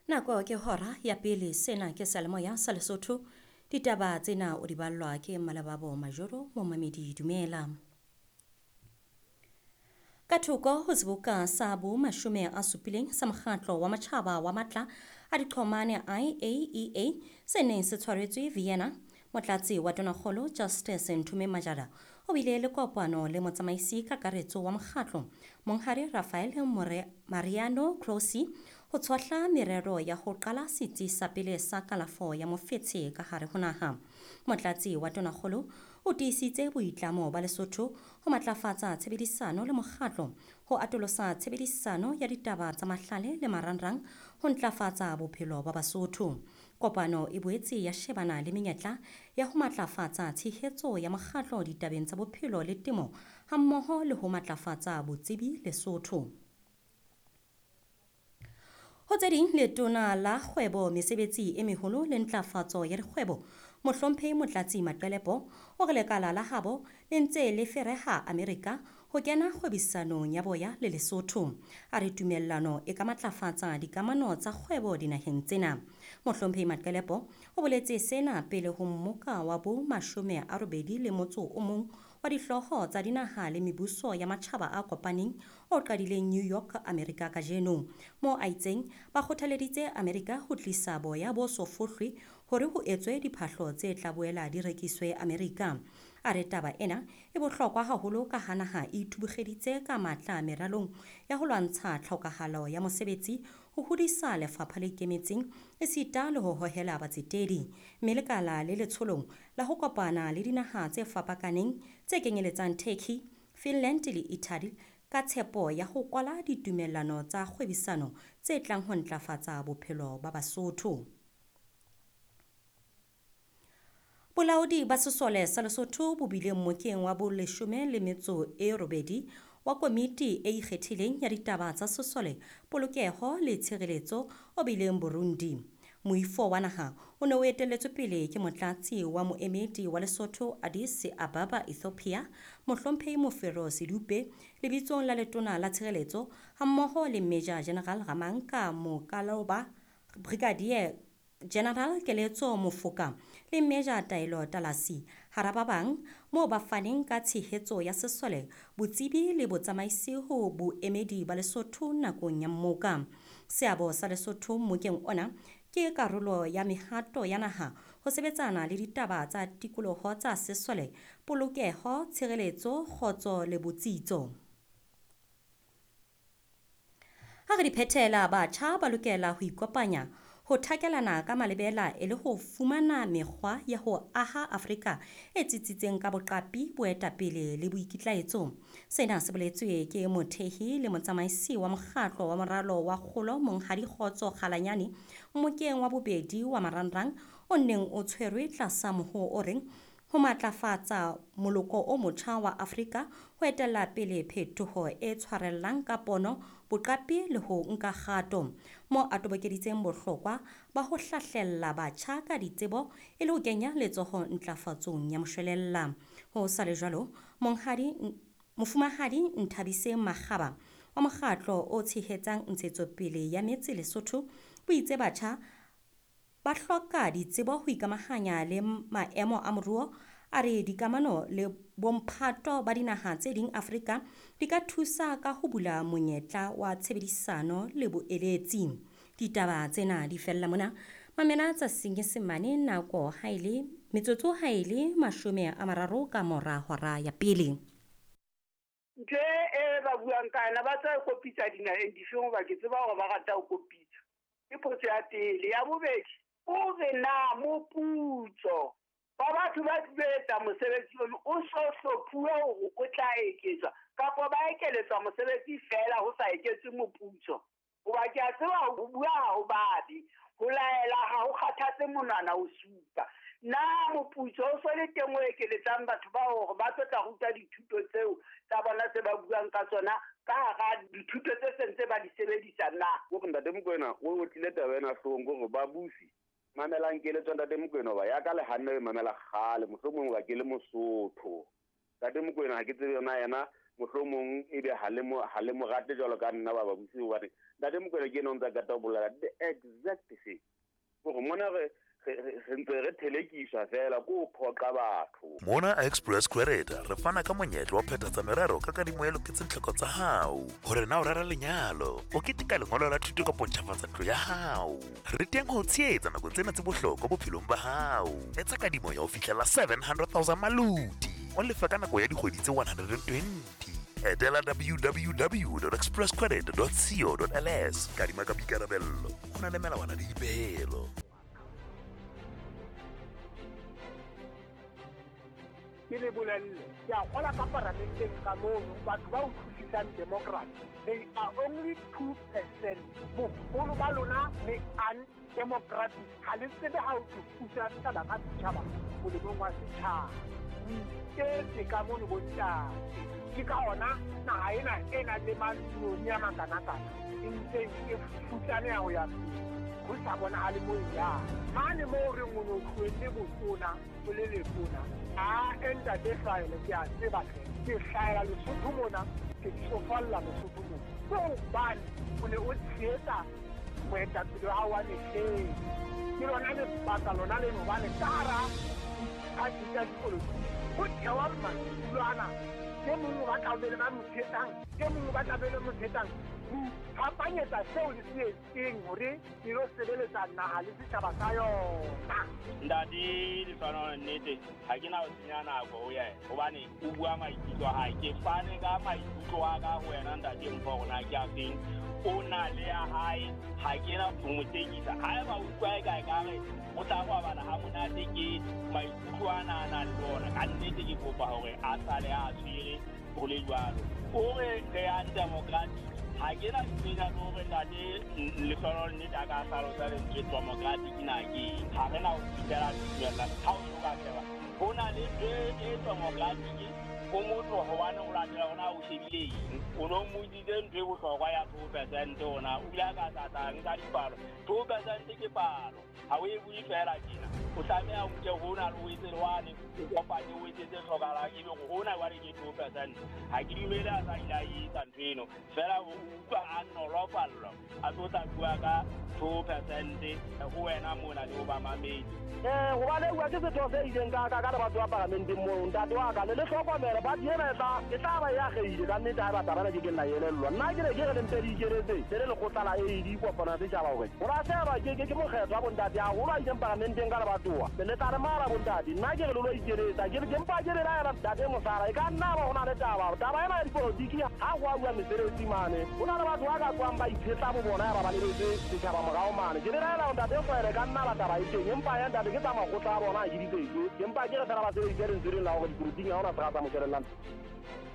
Nako ke hora ya pele, sena ke seyalemoya sa Lesotho. Ditaba tsena o di ballwa ke Malababo Majoro, momamedi dumela. Ka thoko ho seboka sa bo 70 sa mokgatlo wa matjhaba wa matla a diqhomane IAEA se neng se tshwaretswe Vienna, motlatsi wa tonakgolo Justice Nthume Majara o bile le kopano le motsamaisi kakaretso wa mokgatlo Monghadi Rafael Mariano Grossi ho tshohla merero ya ho qala setsi sa pele sa kalafo ya mofetshe ka hare ho naha. Motlatsi wa tonakgolo o tiisitse boitlamo ba Lesotho ho matlafatsa tshebedisano le mokgatlo, ho atolosa tshebedisano ya ditaba tsa mahlale le marangrang ho ntlafatsa bophelo ba Basotho. Kopano e boetse ya shebana le menyetla ya ho matlafatsa tshehetso ya mokgatlo ditabeng tsa bophelo le temo hammoho le ho matlafatsa botsebi Lesotho. Ho tse ding, letona la kgwebo, mesebetsi e meholo le ntlafatso ya dikgwebo, Mohlomphehi Motlatsi Maqelepo o re lekala la habo le ntse le fereha Amerika ho kena kgwebisanong ya boya le Lesotho. A re tumellano e ka matlafatsa dikamano tsa kgwebo dinaheng tsena. Mohlomphehi Maqelepo o boletse sena pele ho mmoka wa bo 81 wa dihlooho tsa dinaha le mebuso ya matjhaba a kopaneng o qadileng New York, Amerika kajeno. Mo a itseng ba kgothaleditse Amerika ho tlisa boya bo so fohlwe hore ho etswe diphahlo tse tla boela di rekiswe Amerika. A re taba ena e bohlokwa haholo ka ha naha e ithubugeditse ka matla meralong ya ho lwantsha tlhokahalo ya mosebetsi, ho hodisa lefapha le ikemetseng esita le ho hohela batsetedi. Mme lekala le letsholong la ho kopana le dinaha tse fapakaneng tse kenyeletsang Turkey, Finland le Italy ka tshepo ya ho kwala ditumellano tsa kgwebisano tse tlang ho ntlafatsa bophelo ba Basotho. Bolaodi ba sesole sa Lesotho bo bile mmokeng wa bo 18 wa komiti e ikgethileng ya ditaba tsa sesole, polokeho le tshireletso o bileng Burundi. Moifo wa naha o ne o etelletswe pele ke motlatsi wa moemedi wa Lesotho Addis Ababa, Ethiopia, Mohlomphehi Mofero Sedupe, lebitsong la letona la tshireletso hammoho le Major General Ramanka Mokaloba, Brigadier General Keletso Mofoka le Major Taelo Talasi hara ba bang, moo ba faneng ka tshehetso ya sesole, botsebi le botsamaisi ho boemedi ba Lesotho nakong ya mmoka. Seabo sa Lesotho mmokeng ona ke karolo ya mehato ya naha ho sebetsana le ditaba tsa tikoloho tsa sesole, polokeho, tshireletso, kgotso le botsitso. Ha re di phethela, batjha ba lokela ho ikopanya ho thakelana ka malebela e le ho fumana mekgwa ya ho aha Afrika e tsitsitseng ka boqapi, boetapele le boikitlaetso. Sena se boletswe ke mothehi le motsamaisi wa mokgatlo wa moralo wa kgolo Monghadi Kgotso Kgalanyane mmokeng wa bobedi wa marangrang o neng o tshwerwe tlasa mohoo o reng ho matlafatsa moloko o motjha wa Afrika ho etella pele phetoho e tshwarellang ka pono, boqapi le ho nka kgato. Mo a tobokeditseng bohlokwa ba ho hlahlella batjha ka ditsebo e le ho kenya letsoho ntlafatsong ya moshwelella. Ho sa le jwalo, Mofumahadi Nthabiseng Makgaba wa mokgatlo o tshehetsang ntshetsopele ya metse Lesotho o itse batjha ba hloka ditsebo ho ikamahanya le maemo a moruo. A re dikamano le bomphato ba dinaha tse ding Afrika di ka thusa ka ho bula monyetla wa tshebedisano le boeletsi. Ditaba tsena di fella mona. Mamela tsa Senyesemane nako ha e le metsotso ha e le 30 ka mora hora ya pele. Ntho e ba buang ka yona ba tla kopitsa dinaheng difeng hoba ke tseba hore ba rata ho kopitsa. Ke potso ya pele. Ya bobedi, o re na moputso ba batho ba etsa mosebetsi ono o so hlophuwe hore o tla eketswa kapa ba ekeletswa mosebetsi fela ho sa eketswe moputso. Hoba ke a tseba ho bua ha ho babe, ho laela ha ho kgathatse monwana o supa. Na moputso o so le teng o ekeletsang batho ba hore ba tlo tla ruta dithuto tseo tsa bona tse ba buang ka tsona ka hara dithuto tse sentse ba di sebedisa na? Hore Ntate Mokoena o otlile taba ena hloohong hore babusi mamelang keletso Ntate Mokoena hoba ya ka le hanne e mamela kgale, mohlomong hoba ke le Mosotho. Ntate Mokoena ha ke tsebe yona yena, mohlomong ebe ha le mo rate jwalo ka nna ba babusi hobane Ntate Mokoena ke ena o ntsa kata ho bolela the exact thing. Hore mona re ntse re thelekiswa fela ko ho phoqa batho. Mona Express Credit re fana ka monyetla wa phethatsa merero ka kadimo e loketseng tlhoko tsa hao. Hore na o rera lenyalo, o keteka lengolo la thuto kapo ntjhafatsa ntlo ya hao. Re teng ho tshehetsa nakong tsena tse bohlokwa bophelong ba hao. Etsa kadimo ya ho fihlela 700,000 maluti. O lefa ka nako ya dikgwedi tse 120. Etela www.expresscredit.co.ls. Kadima ka boikarabello. Ho na le melawana le dipehelo. Ke le bolelle, ke a kgola ka paramenteng ka mono, batho ba utlwisisang democracy, they are only 2%. Boholo ba lona le undemocratic. Ha le tsebe ha o thusa setjhaba ka setjhaba molemong wa setjhaba. O iketse ka mono bontate. Ke ka hona naha ena e nang le mantsinyane a makanakana e ntseng e futsaneha ho ya pele. Ho sa bonahale moo e yang. Mane moo re reng o no tlohelle botona o le letona. A ntate Hlahele ke a tseba hle. Ke hlahela Lesotho mona, ke tsofalla Lesotho mona. Ke hobane o ne o tshehetsa moetapele wa hao wa mehleng. Ke lona lebaka lona leno hobane ka hara diphathi tsa dipolotiki ho thewa madulo ana. E mong o batla ho be le ba mo tshehetsang, e mong o batla be le mo tshehetsang. Ho iphapanyetsa seo le se etseng hore le lo sebeletsa naha le setjhaba sa yona. Ntate Lehlohonolo nnete ha ke na ho senya nako ho yena hobane o bua maikutlo a hae. Ke fane ka maikutlo a ka ho wena ntate Mpho hore na ke a feng. O na le ya hae, ha ke na ho mo tekisa. Haeba o utlwa eka ekare o tla robala ha monate ke maikutlo ana a nang le ona. Ka nnete ke kopa hore a sale a tshwere ho le jwalo. O re re undemocratic. Ha ke na tsena le hore ntate Lehlohonolo nnete a ka hlalosa lentswe democratic na ke eng. Ha re na ho fihlela tumellano. Ha o so ka sheba, ho na le ntho e democratic o motho hobane o latela hore na o shebile eng. O no mmotsitse ntho e bohlokwa ya 2% hona o bile a ka tlatla nka dipalo. 2% ke palo, ha o e bue fela tjena. O tlameha o nke hona le o etse le wane, o kopanye o etse tse hlokahalang ebe hore hona jwale ke 2%. Ha ke dumele a sa ile a etsa ntho eno. Feela o utlwa a nolofallwa a tlo tla bua ka 2% ho wena mona le ho ba mamedi. Hobane bua ke setho se ileng ka ka le batho ba paramenteng moo ntate wa ka le le hlokomele party ena e tla ba e ageile ka nnete ha e batla bana ke ke nna elellwa. Nna ke ne ke re le mpe le ikeletse le le lekgotla la AD kopano ya setjhaba hore ho ra sheba ke mokgetho wa bontate haholo a ileng paramenteng ka lebatowa. Le tla re mara bontate, nna ke re le lo ikeletsa ke mpa ke belaela ntate Mosala e ka nna ba ho na le taba. Taba ena ya dipolotiki ha ho a bua mesebetsi mane. Ho na le batho ba ka tswang ba itshetla bo bona ya ba ba lebetse setjhaba morao mane. Ke belaela ntate Hlahele ka nna ba taba e teng empa ya ntate ke tsa makgotla a bona a ke di tsetse. Ke mpa ke re fela ba sebedise lentswe lena la hore dipolotiking ha hona se ka tsa mo shebellang.